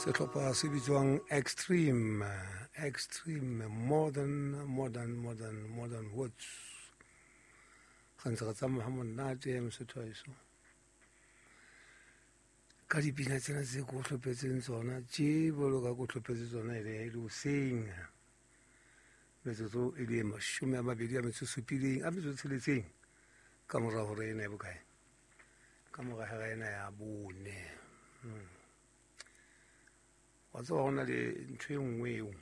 Sehlopha se bitswang Extreme, Extreme Modern, Modern, Modern, Modern Words. Re ntse re tsamaya ha monate Mosotho wa heso. Ka dipina tsena tse ko hlopetseng tsona tje bolo ka ko hlopetse tsona e le hoseng. Metsotso e le 27 a metso tsheletseng ka mora hora ena e bokae? Ka mora hora ena ya 4. Wa tseba ho na le ntho e nngwe eo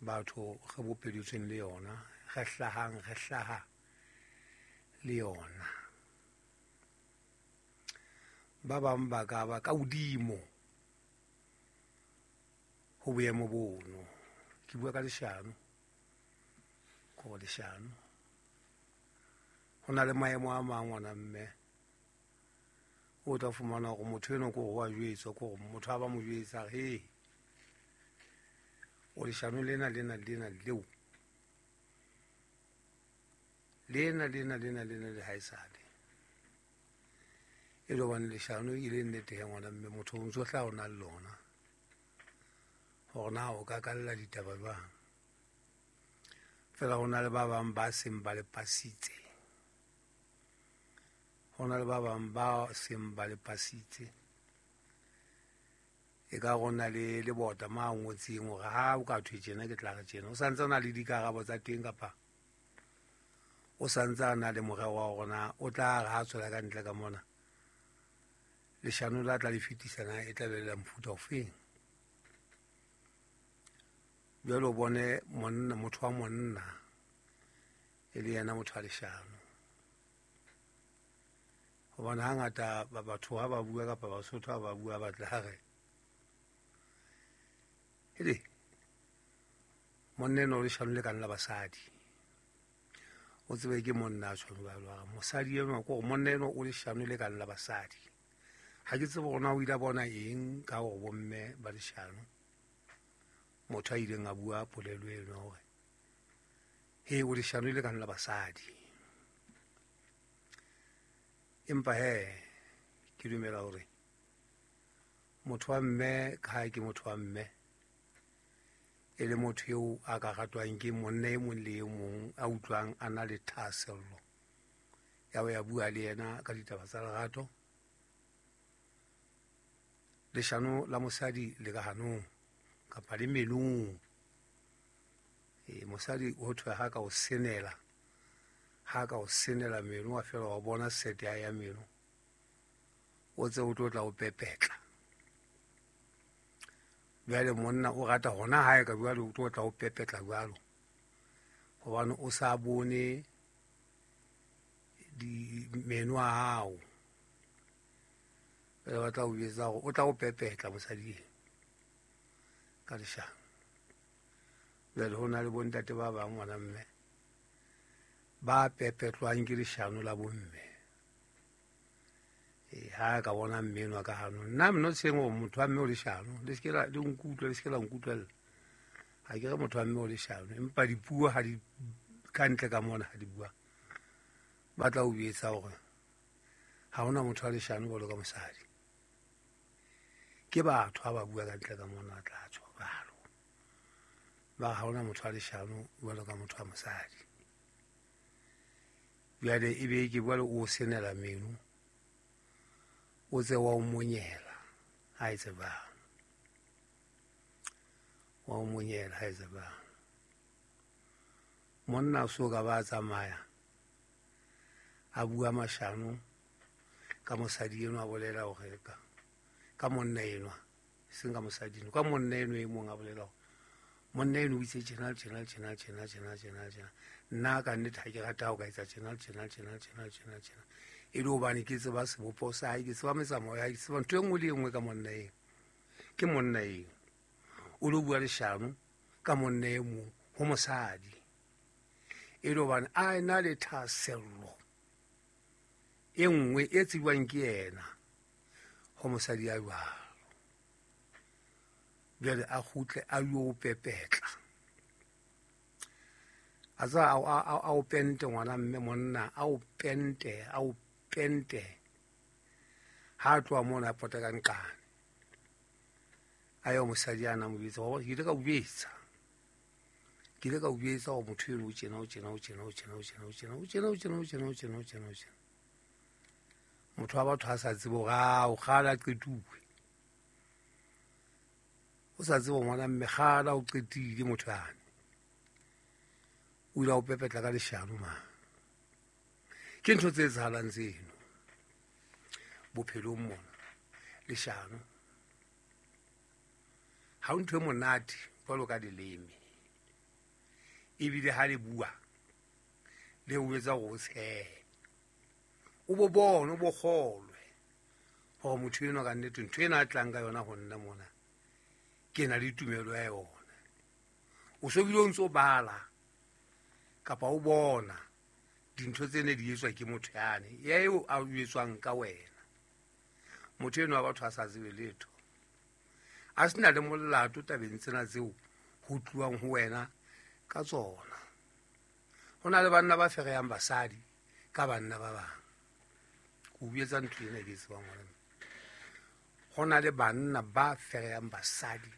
batho re bopeditsweng le yona, re hlahang, re hlaha le yona. Ba bang ba ka ba ka hodimo ho boemo bono. Ke bua ka leshano, ko leshano. Ho na le maemo a mang ngwana mme o tla fumana hore motho enwa ke hore wa jwetswa, ke hore motho a ba mo jwetsa he o leshano lena lena lena leo lena lena lena lena le haesale. E le hobane leshano e le nnete ya ngwana mme motho o ntso hlaha o na le lona hore na o ka kalla ditaba jwang. Feela ho na le ba bang ba seng ba le pasitse, ho na le ba bang ba seng ba le pasitse. E ka re na le lebota ma ngotseng hore ha o ka thwe tjena ke tla re tjena, o santse o na le dikarabo tsa teng kapa o santse a na le morero wa hore na o tla re ha tswela ka ntle ka mona leshano la tla le fetisa na e tla be le la mofuta ofeng. Jwale o bone monna, motho wa monna e le yena motho wa leshano. Hobane hangata batho ha ba bua kapa Basotho ha ba bua ba tla re hele monna enwa o leshano le kang la basadi. O tsebe ke monna a tshwang jwalo, a re mosadi enwa ke hore monna enwa o leshano le kang la basadi. Ha ke tsebe hore na o ile a bona eng ka hore bomme ba leshano. Motho a ileng a bua polelo eno hore he o leshano le kang la basadi. Empa he ke dumela hore motho wa mme ka ha ke motho wa mme e le motho eo a ka ratwang ke monna e mong le e mong a utlwang a na le thahasello ya ho ya bua le yena ka ditaba tsa lerato. Leshano la mosadi le ka hanong kapa le melong. Mosadi ho thwe ha ka o senela, ha ka o senela meno wa fela wa bona sete ya meno, o tse o tlo tla o pepetla. Jwale monna o rata hona hae ka jwale o tlo tla o pepetla jwalo, hobane o sa bone di meno a hao. Jwale ba tla o jwetsa hore o tla o pepetla mosadi eno ka leshano. Jwale ho na le bontate ba bang ngwana mme ba pepetlwang ke leshano la bomme. Ha ka bona mme enwa ka hanong, nna I'm not saying hore motho wa mme o leshano, le se ke la le nkutlwe, le se ke la nkutlwella. Ha ke re motho wa mme o leshano, empa dipuo ha di ka ntle ka mona ha di bua, ba tla o jwetsa hore ha hona motho wa leshano jwalo ka mosadi. Ke batho ha ba bua ka ntle ka mona ba tla tjho jwalo, ba ha hona motho wa leshano jwalo ka motho wa mosadi. Jwale e be ke bua le o senela meno, o tse wa o monyela ha e tsebang, wa o monyela ha e tsebang. Monna so ka ba tsamaya a bua mashano ka mosadi enwa, a bolela hore ka monna enwa, seng ka mosadi enwa, ka monna enwa e mong a bolela hore monna enwa o itse tjena, tjena, tjena, tjena, tjena, tjena, tjena. Nna ka nnete ha ke rata ha o ka etsa tjena, tjena, tjena, tjena, tjena, tjena. E le hobane ke tseba sebopeho sa hae, ke tseba metsamao ya hae, ke tseba ntho e nngwe le e nngwe ka monna eo. Ke monna eo o lo bua leshano ka monna e mong ho mosadi, e le hobane a ena le thahasello e nngwe e tsebjwang ke yena ho mosadi ya jwalo. Jwale a kgutle a yo pepetla, a tsa a o pente ngwana mme monna a o pente, a o pente. Ha a tloha mona a pota ka nqane. A yo mosadi a na mo bitsa wa ke ile ka o bitsa ke ile ka o bitsa go motho eno o tjena o tjena o tjena o tjena o tjena o tjena o tjena o tjena o tjena o tjena o tjena o tjena. Motho wa batho a sa tsebe hore a o kgala qetuwe, o sa tsebe ngwana mme kgala o qetile motho yane, o ile a o pepetla ka leshano. Mang ke ntho tse etsahalang tseno bophelong mona. Leshano ha o ntho e monate jwalo ka leleme, ebile ha le bua le o etsa hore o tshehe, o bo bone, o bo kgolwe hore motho enwa ka nnete ntho ena a tlang ka yona ho nna mona ke na le tumelo ya yona. O so bile o ntso bala kapa o bona dintho tse ne di etswa ke motho yane ya eo a etswang ka wena. Motho enwa wa batho a sa tsebe letho, a sena le molato tabeng tsena tseo ho tluwang ho wena ka tsona. Ho na le banna ba fereyang basadi ka banna ba bang. Ke o etsa ntho ena ke e tsebang hore ho na le banna ba fereyang basadi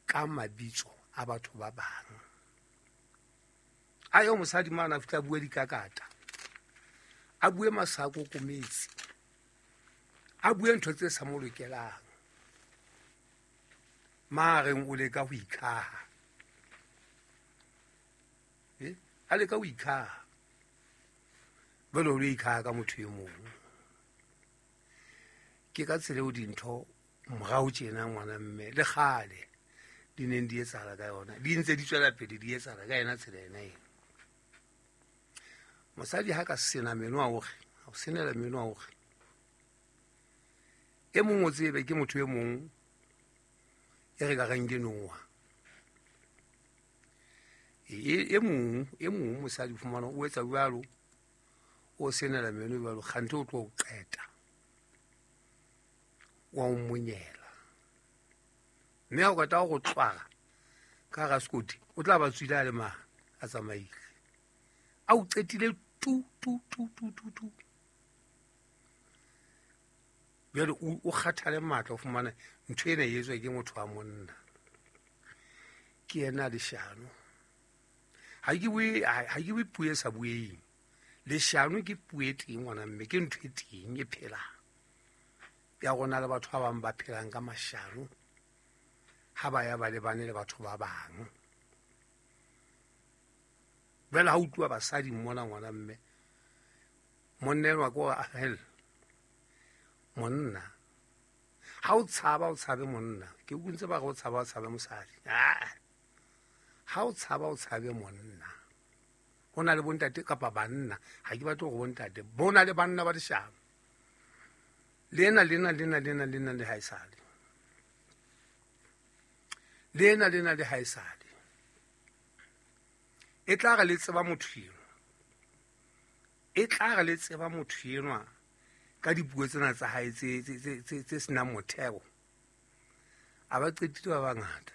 ka mabitso a batho ba bang. A yo mosadi mana a fihla a bue dikakata, a bue masako kometsi, a bue ntho tse sa mo lokelang, mareng o leka ho ikhaha. A leka ho ikhaha, jwale o lo ikhaha ka motho e mong. Ke ka tsela eo dintho morao tjena ngwana mme le kgale di neng di etsahala ka yona, di ntse di tswela pele di etsahala ka yena tsela ena eno. Mosadi ha ka sena meno a hore, o senela meno a hore e mong o tsebe ke motho e mong e re ka reng ke noha. E mong mosadi fumana o etsa jwalo, o senela meno jwalo, kganthe o tlo o qeta, wa o monyela. Mme ha o qeta ho tlwara ka hara sekoti, o tla ba tswile a le mang a tsamaile, a o qetile tu tu tu tu tu tu. Jwale o kgathale matla o fumana ntho ena e etswa ke motho wa monna, ke yena leshano. Ha ke bue puo e sa bueng. Leshano ke puo e teng ngwana mme, ke ntho e teng e phelang ya rona le batho ba bang ba phelang ka mashano ha ba ya ba lebane le batho ba bang. Jwale ha utlwa basadi mona ngwana mme, monna enwa ke hore hell, monna ha o tshaba o tshabe monna. Ke utlwe ba re o tshaba o tshabe mosadi. Ha o tshaba o tshabe monna. Ho na le bontate kapa banna, ha ke batle hore bontate, bo na le banna ba leshano. Lena lena lena lena lena le haesale, lena lena le haesale. E tla re le tseba motho enwa, e tla re le tseba motho enwa ka dipuo tsena tsa hae tse senang motheo. A ba qetile ba bangata,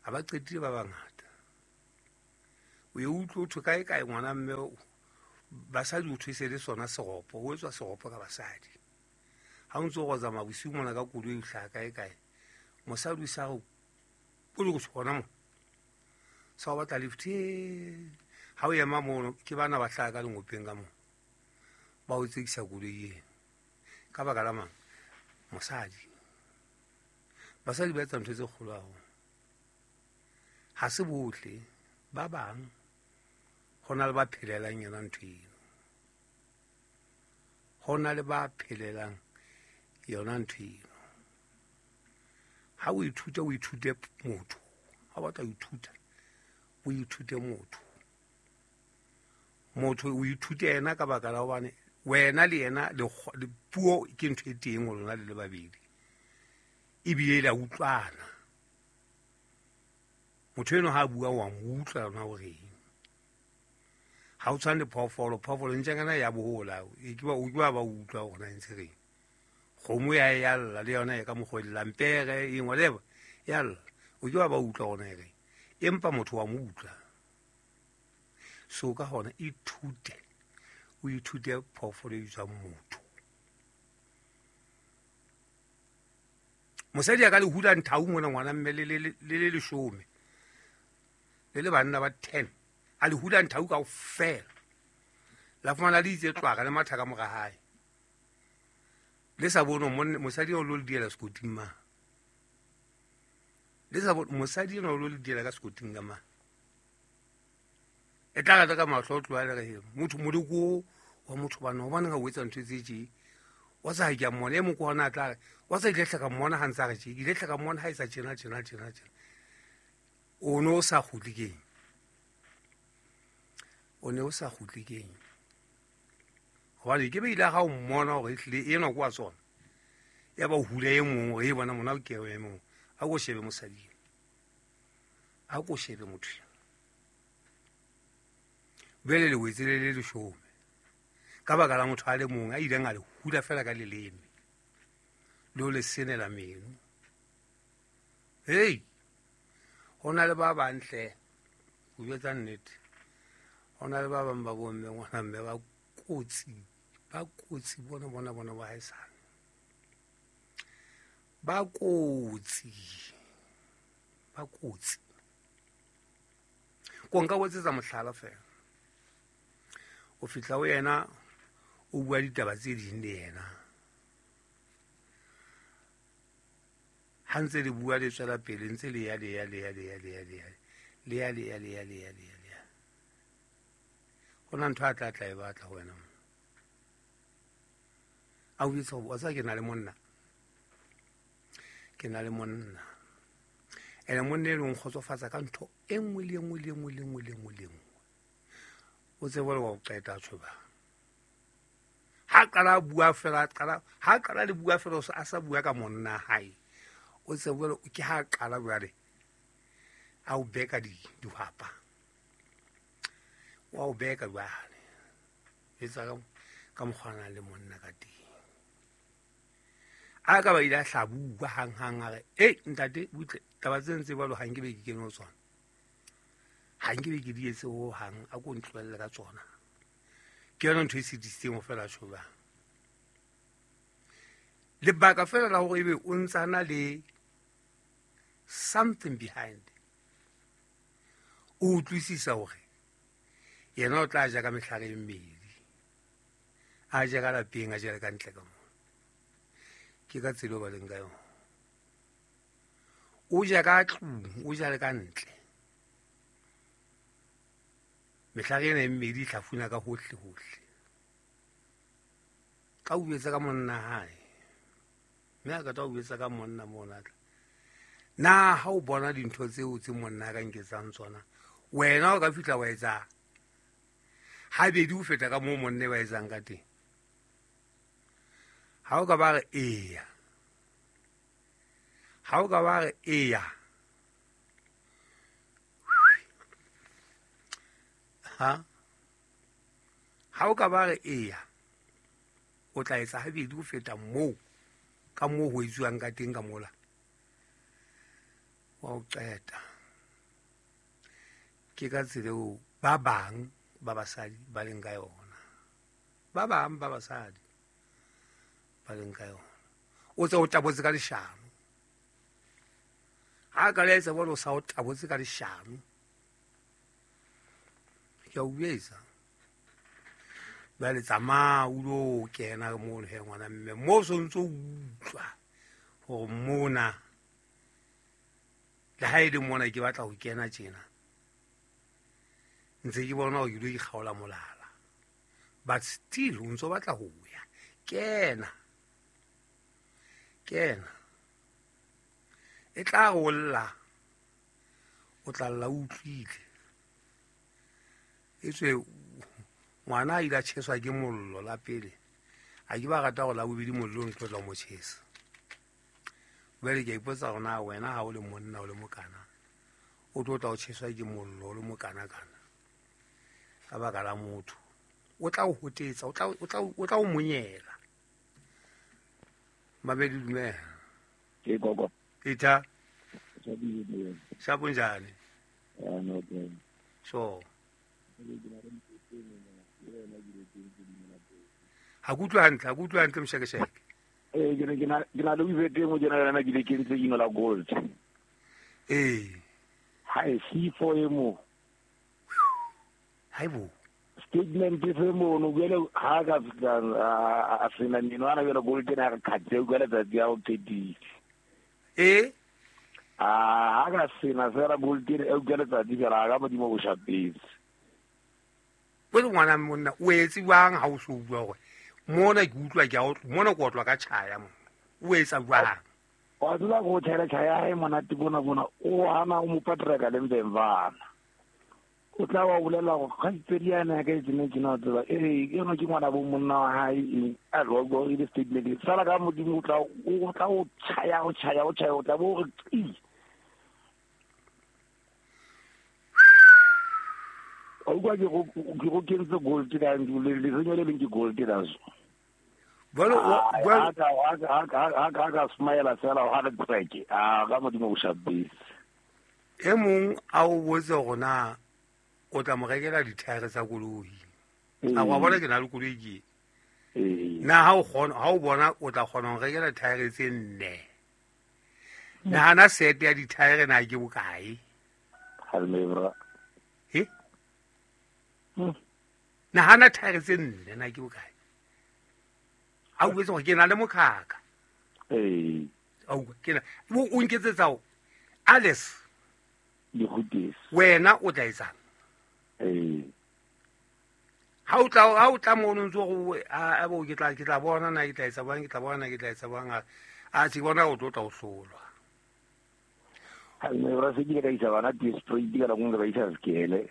a ba qetile ba bangata. O e utlwe ho thwe kae kae ngwana mme basadi o thwe se le sona seropo, ho etswa seropo ka basadi. Ha o ntso o tsamaya bosiu mona ka koloi o hlaha kae kae, mosadi o sa re o le go tshwana mo sa o batla lift. Ha o ema mono ke bana ba hlaha ka lengopeng ka mo, ba o tsekisa koloi eno ka baka la mang? Mosadi. Basadi ba etsa ntho tse kgolo haholo. Ha se bohle, ba bang ho na le ba phelelang yona ntho eno, ho na le ba phelelang yona ntho eno. Ha o ithuta o ithute motho, ha o batla ho ithuta o ithute motho. Motho o ithute yena ka baka la hobane wena le yena le puo ke ntho e teng ho lona le le babedi, ebile le a utlwana. Motho eno ha a bua wa mo utlwa yona horeng. Ha o tshwane le phoofolo, phoofolo ntjangana ya bohola, e ke ba o ke ba utlwa hore na ntse reng. Kgomo ya ya lla le yona e ka mokgwa e llang, pere eng whatever ya lla, o ke ba utlwa hore na e reng, empa motho wa mo utlwa. So ka hona ithute, o ithute phoofolo e bitswang motho. Mosadi a ka le hula nthau mona ngwana mme le le leshome le le banna ba 10 a le hula nthau kaofela. La fumana le itse tlwaka le matha ka mora hae. Le sa bone mosadi o lo le diela sekoting ma. Le sa bone mosadi o lo le diela ka sekoting ka ma. E tla rata ka mahlo o tloha le re motho moleko wa motho bana hobane ga o etsa ntho tse tje. Wa sa ke a mmona e mong ke hona a tla re wa sa ile hlaka mmona ha ntsa re tje ile hlaka mmona ha etsa tjena tjena tjena tjena. O no sa kgutle keng? O ne o sa kgutle keng? Hobane ke be ile ga o mmona hore ehlile enwa ke wa tsona. Ya ba hula e mong hore e bona mona ke e mong. A ko shebe mosadi. A ko shebe motho. Bele le wetse le le leshome. Ka baka la motho a le mong a ileng a le hula fela ka leleme. Le o le senela meno. Hey! Ho na le ba bantle. Ho jwetsa nnete. Ho na le ba bang ba bomme ngwana mme ba kotsi. Ba kotsi bona bona bona ba haesale. Ba kotsi. Ba kotsi. Ko nka botsetsa mohlala fela. O fihla ho yena o bua ditaba tse ding le yena. Ha ntse le bua le tswela pele ntse le ya le ya le ya le ya le ya le ya le ya le ya le ya le ya le ya le ya. Ho na ntho a tla tla e batla ho wena. A o jwetsa hore wa tseba ke na le monna. Ke na le monna. Ene monna eno o nkgotsofatsa ka ntho e nngwe le e nngwe le e nngwe le e nngwe le e nngwe le e nngwe. O tsebe le wa o qeta tjho ba. Ha qala bua fela qala ha qala le bua fela a sa bua ka monna hae. O tsebe ke ha qala jwale a o beka dihwapa. Wa o beka jwale. Etsa ka mokgwa le monna ka teng. A ka ba ile a hlabuwa hang hang a re, "Ei ntate butle taba tse ntse jwalo ha nke be ke kene ho tsona. Ha nke be ke di etse ho hang a ko ntlohelle ka tsona." Ke yona ntho e sitisitseng ho fela tjho jwang. Lebaka fela la hore ebe o ntsana le something behind. O utlwisisa hore yena o tla ja ka mehlare e mmedi. A ja ka lapeng, a jele ka ntle ka moo. Ke ka tsela ba leng ka yona. O ja ka tlung, o ja le ka ntle. Mehlare ena e mmedi e hlafuna ka hohle hohle. Ka o jwetsa ka monna hae. Mme a ka tla o jwetsa ka monna mona tla. Na ha o bona dintho tseo tse monna ka nketsang tsona, wena o ka fihla wa etsa habedi ho feta ka moo monna ba etsang ka teng. Ha o ka ba re eya. Ha o ka ba re eya. Ha? Ha o ka ba re eya. O tla etsa habedi ho feta moo ka moo ho etsuwang ka teng ka mola. Wa o qeta. Ke ka tsela eo ba bang ba basadi ba leng ka yona. Ba bang ba basadi ba leng ka yona. O tse o tabotse ka leshano. Ha ka le etsa bona o sa o tabotse ka leshano. Ke a o jwetsa. Jwale tsamaya o lo kena mono he ngwana mme mo so ntso utlwa hore mona le ha e le mona ke batla ho kena tjena. Ntse ke bona hore ke lo ikgaola molala. But still o ntso batla ho ya. Kena. Kena. E tla re o lla. O tla lla o utlwile. Etswe ngwana a ile a tjheswa ke mollo la pele. A ke ba rata hore la bobedi mollo o ntlo tla mo tjhesa. Jwale ke a ipotsa hore na wena ha o le monna o le mokana o tlo tla o tjheswa ke mollo o le mokana kana. Ka baka la motho. O tla o hotetsa, o tla o monyela. Mabedi dumela. Ke gogo. Ita. Sa bunjani? Ya no ke. So. Ha kutlwa hantle, ha kutlwa hantle mshekesheke. Ke na le wizete mo jena yona ke le kentse ino la gold. Ha e C4 e mo. Haibo. Statement e fe mo no gele ha ka a sena nino ana gele gold na re khatse o gele tsatsi ya o qetile. Ha ka sena fela gold e o gele tsatsi fela ga modimo go shapetse. Bo ngwana monna o etse jwang ha o so bua gore mona ke utlwa ke a mona ke otlwa ka tjhaya mo o etsa jwang wa tseba go tshela tjhaya e monate bona bona o hana o mo patreka le mvemvana o tla wa bolela go kgaitsedi yana ka itsene ke na tseba eno ke ngwana bo monna wa hae a ro go ile statement sala ka modimo o tla o tjhaya o tjhaya o tjhaya o tla bo re qi o kwa ke go kentse gold ka le le le leng ke gold la so bolo ha ka smile fela ha re treke a ga modimo o shabise e mong a o botse gona o tla mo rekela dithaere tsa koloi a wa bona ke na le koloi ke na ha o kgona ha o bona o tla kgona ho rekela dithaere tse nne nahana sete ya dithaere na ke bokae ha le bra he nahana thaere tse nne na ke bokae a o botse gore ke na le mokhaka ke na o nketsetsa o Alice di gutese wena o tla etsang ha o tla mo ntse go a bo ke tla bona na ke tla etsa bang ke tla bona ke tla etsa bang a se bona o tlo tla o hlolwa ha ne ra se ke ka isa bana ti spray di ka ngwe ba isa skele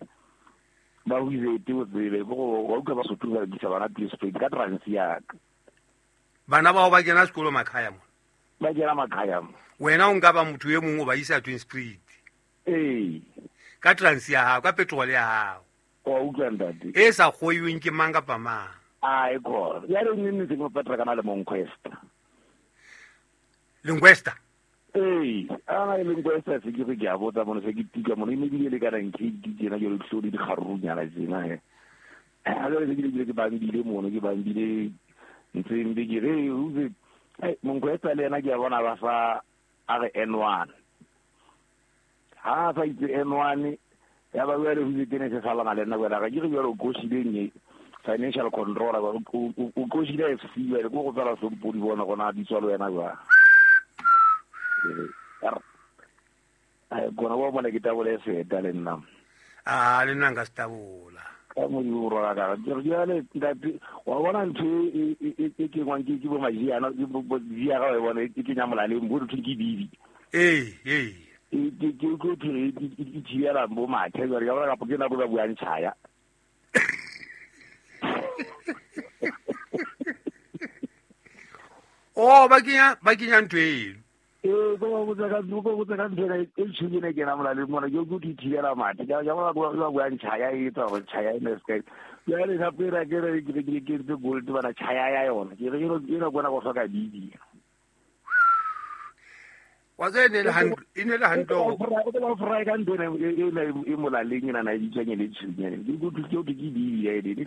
ba o izete o tsebe go wa utlwa ba sotuka ke isa bana ti spray ka transia bana bao ba kena sekolo makhaya mo ba kena makhaya mo wena o nka ba motho e mongwe ba isa Twin Spirit ka transia hao ka petrol ya hao o utlwa ntate e sa kgoiweng ke mang kapa mang a e khona ya re nne se mo petra kana le Monquesta Linguesta ana le Linguesta se ke re ke a botsa mona se ke tika mona e ne le ka reng ke tsena ke le tlodi di garunyana tsena he a le ke ke bambile mona ke bambile ntse mbe ke re uze Monquesta le ena ke a bona ba fa a re N1 ha fa itse N1 ya ba wele ho tsene se salana le nna wena ga ke re jalo go shileng financial controller o go shile FC wele go go tsala sompodi bona gona di tswalo wena jwa ai gona wa bona ke tabole se le nna a le nna nka se tabola ka mo di rola ka ke re jale ntate wa bona ntho e ke ngwang ke bo majiana ke bo dia ga wa bona ke nyamolaleng bo re ke bibi ke go thwe ke thibela bo mathe jare ka bona ka ke nako ba buang tjhaya o ba kenya ntho eno go botsa ka ntho e tshubile ke na molaleng mona ke go thibela mathe ka bona ba buang tjhaya e tsa go tjhaya e ne se ka le gape ra ke re ke ke gold bana tjhaya ya yona ke re ke na bona go hloka bibi wa tse ne le hantle go fry ka ntho e molaleng ena na e bitswang le tshunyane ke go ke bibi ya e